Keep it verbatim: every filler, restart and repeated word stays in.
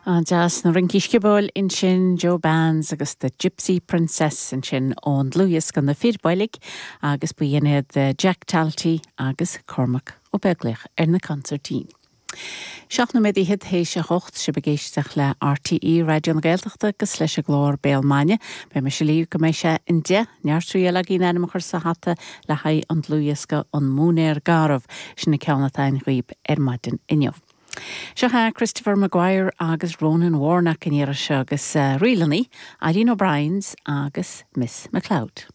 An-deas na rincí sciobóil ansin Joe Bands agus the Gypsy Princess ansin ón dlúthdhiosca Na Fir Boilg agus ba iad Jack Talty agus Cormac Ó Beaglaoich ar na consairtín. Seacht nóiméad fichead théis a hocht sibh ag éisteacht le RTÉ Raidió na Gaeltachta agus leis an gclár Béal Maidine, Beidh mise libh go mbeidh sé an deich neart triail againn ainm a chur sa hata le haghaidh an dlúthdhiosca an Móinéar Garbh sin an ceann atá againn dhaoibh ar maidin inniu. Seo é Christopher Maguire agus Ronan Warnock in iarra seo agus uh, rílannaí, Eileen O'Brien's agus Miss McLeod.